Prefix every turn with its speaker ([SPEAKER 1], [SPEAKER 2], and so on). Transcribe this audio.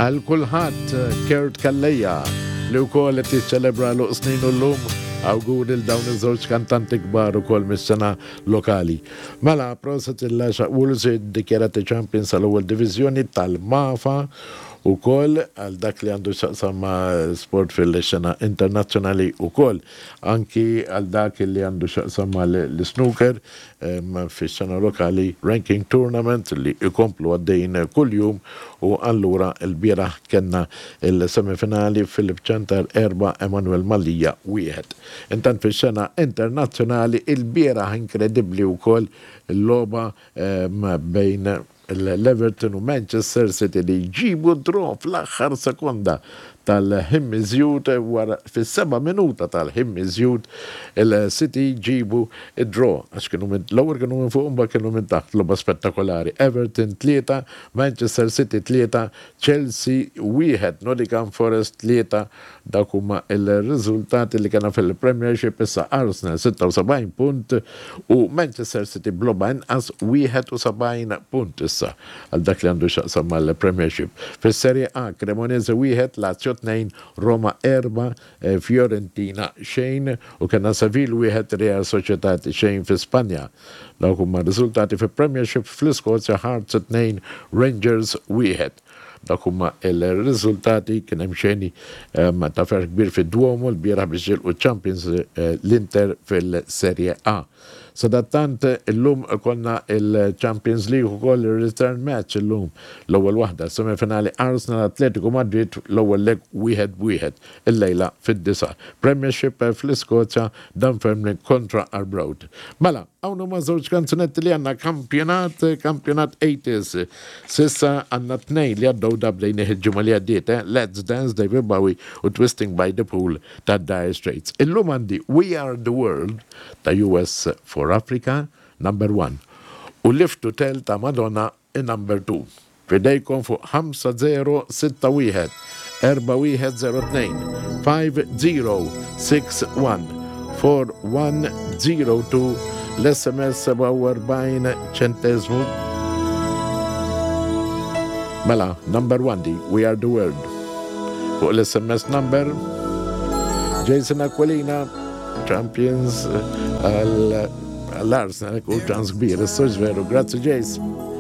[SPEAKER 1] Għal kulħadd Kurt Calleja li wkoll qed jiċċelebra għeluq sninu llum. Awguri lil dawn iż-żewġ kantanti kbar ukoll mis-sena lokali. Mela, proset il-Għaxaq Wolves iddikjarati champions tal-ewwel diviżjoni tal-MAFA ukoll għal dak li għandu x'jaqsam ma' sport fil-xena internazzjonali ukoll. Anki għal dak li għandu x'jaqsam mal-snooker fix-xena lokali ranking tournament li jkomplu għaddejjin kuljum u allura lbieraħ kellna l-semifinali Philip Ciantar 4 Emanuel Mallia 1. Intant fix-xena internazzjonali ilbieraħ inkredibbli wkoll il-logħba bejn l-Everton u Manchester City li jġibu draw fl-aħħar sekonda tal-ħin miżjud wara fis-seba' minuta tal-ħin miżjud il-City jġibu d-draw għax kienu minn l-ewwel kienu minn fuq imbagħad kienu minn taħt logħba spettakolari Everton 3 Manchester City 3 Chelsea 1 Nottingham Forest 3 Dawk huma l-riżultati li kellna fil-Premiership issa Arsenal 76 punt u Manchester City b'logħba inqas 71 punt issa għal dak li għandu x'jaqsam mal-Premiership. Fis-Serie A Cremonese 1, Lazio 2, Roma 4, Fiorentina xejn u kellna Seville 1, Real Sociedad xejn fi Spanja. Dawk huma r-riżultati fi-Premiership fl-Iskozja Hearts 2, Rangers 1. Dawk huma l-riżultati, kien hemm xeni ta' ferħ kbir fid-Duomo lbieraħ biex jilqu ċ-champions l-Inter fil-Serie A. Sadattant illum ikollna l-Champions League ukoll ir-return match illum. L-ewwel waħda, semifinali Arsenal Atletico Madrid l-ewwel leg wieħed b'wieħed illejla fid-disgħa. Premiership fl-Iskozja Dunfermline kontra Arbroath. Mela, hawn huma żewġ kanzunetti li għandna kampjonat, kampjonat 80s. S'issa għandna tnejn li għaddew da bdejnih il-ġimgħa li għaddiet, eh? Let's Dance David Bowie u Twisting by the Pool ta' Dire Straits. Illum għandi We Are the World ta' US for Africa, number one, u Live to Tell ta' Madonna Number 2. F'idejkom fuq 5061 4102 5061 4102 l-SMS 47 ċenteżmu. Mela, number 1 di, We Are The World. Fuq l-SMS number Jason Aquilina, Champions għall-Arsenal, ċans kbir, s veru. Grazzi Jason.